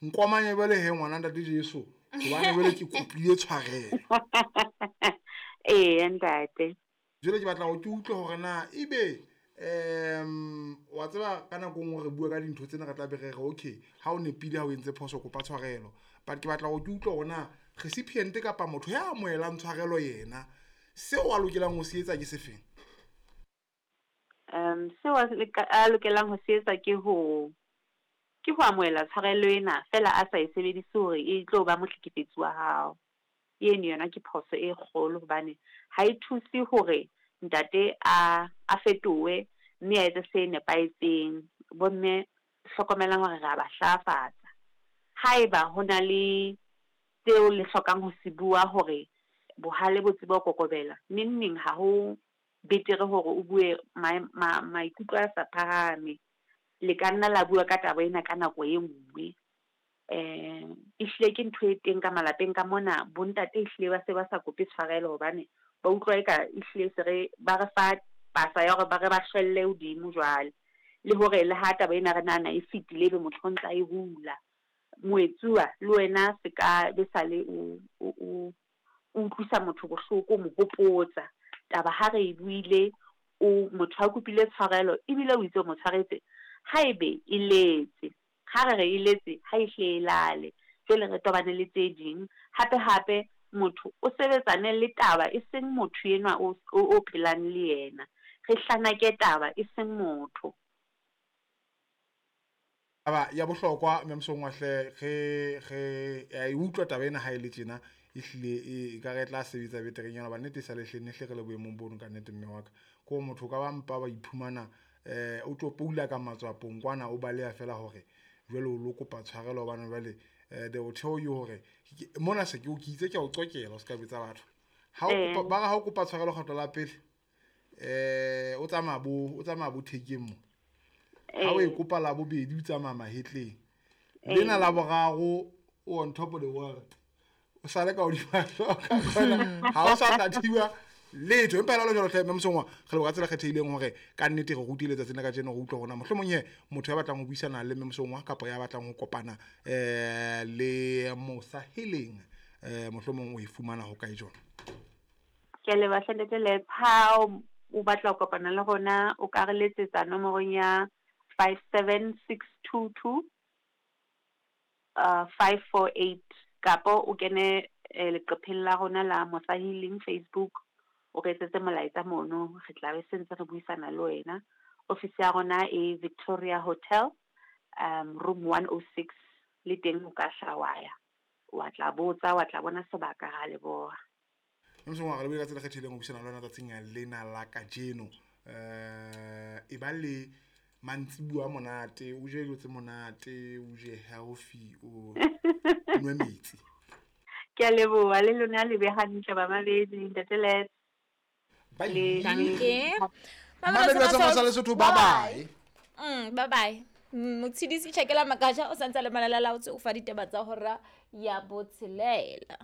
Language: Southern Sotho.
Nkomanye jwale he ngwana ntate Jesu hobane jwale ke kopile tshwarelo. Eya ntate. Jwale ke batla hore ke utlwe hore na ebe wa tseba ka nako e nngwe re bua ka dintho tsena re tla be re re okay ha o nepile ha o entse phoso kopa tshwarelo, but ke batla hore ke utlwe hore na recipient kapa motho ya amohelang tshwarelo yena seo a lokelang ho se etsa ke sefeng. Seo a lokelang ho se etsa ke ho amohela tshwarelo ena fela a sa e sebedise hore e tlo ba mohlekefetsi wa hao. Eno yona ke phoso e kgolo hobane ha e thuse hore ntate a fetohe mme a etse se nepahetseng. Bomme hlokomelang hore re a ba hlahafatsa. Haeba ho na le tseo le hlokang ho se bua hore bohale bo tsebe ho kokobela, neng neng ha ho betere hore o bue maikutlo a sa phahame. Le ka nna la bua ka taba ena ka nako e nngwe. Ehlile ke ntho e teng ka malapeng ka mona, bontate ehlile ba se ba sa kope tshwarelo hobane ba utlwa eka ehlile se re ba re fa pasa ya hore ba re ba hlwelle hodimo jwale. Le hore le ha taba ena re nahana e fetile ebe motho o ntsa e hula. Moetsuwa le wena se ka be sale o utlwisa motho bohloko, o mo hopotsa. Taba ha re e buile, o motho a kopile tshwarelo ebile o itse o mo tshwaretse, haebe e letse, ha re re e letse, ha e hle e lale. Jwale re tobane le tse ding. Hape hape motho o sebetsane le taba e seng motho enwa o phelang le yena. Re hlanake taba e seng motho. Taba ya bohlokwa mme Mosongwa hle re ya e utlwa taba ena ha e le tjena ehlile e ka re tla sebetsa beterenyana hobane nnete e sa le hle ne hle re le boemong bono ka nnete mme wa ka. Ko motho ka ba mpa ba iphumana o tlo poula ka matswapong kwana o baleha fela hore jwale o lo kopa tshwarelo hobane jwale they will tell you hore mona se ke o ke itse ke a o qokela o ska betsa batho. Ha o kopa ba re ha o kopa tshwarelo kgetlo la pele o tsamaya bo thekeng mo. Ha o e kopa la bobedi o tsamaya mahetleng. Lena la boraro o on top of the world. O sale ka hodima hloka kgona ha o sa tla thiba letho. Empa jwalo jwalo hle mme Mosongwa re leboha ka tsela kgethehileng hore ka nnete re rutile letsatsing la kajeno re utlwa hore na mohlomong he motho ya batlang ho buisana le mme Mosongwa kapa ya batlang ho kopana le Mosa Healing mohlomong o e fumana ho kae jona. Ke a leboha hle ntate Lets. Ha o batla ho kopana le rona o ka re letsetsa nomorong ya 57622 548 kapo o kene leqepheng la rona la Mosa Healing Facebook, o re etsetse molaetsa mono, re tla be se ntse re buisana le wena. Office ya rona e Victoria Hotel, room 106, le teng o ka hla wa ya, wa tla botsa, wa tla bona sebaka, ra leboha. Mosongwa re lebohile ka tsela e kgethehileng ho buisana le wena tsatsing lena la kajeno. E ba le mantsibuya monate, o je dijo tse monate, o je healthy, o nwe metsi. Ke a leboha le lona le be hantle bamamedi ntate Lets. Bye. Danke. Mamedi ba Tsamaya Lesotho, bye bye. Bye bye. Motshedisi Tjhakela Makaja o santse a le malala laotse o fa ditaba tsa hora ya botshelela.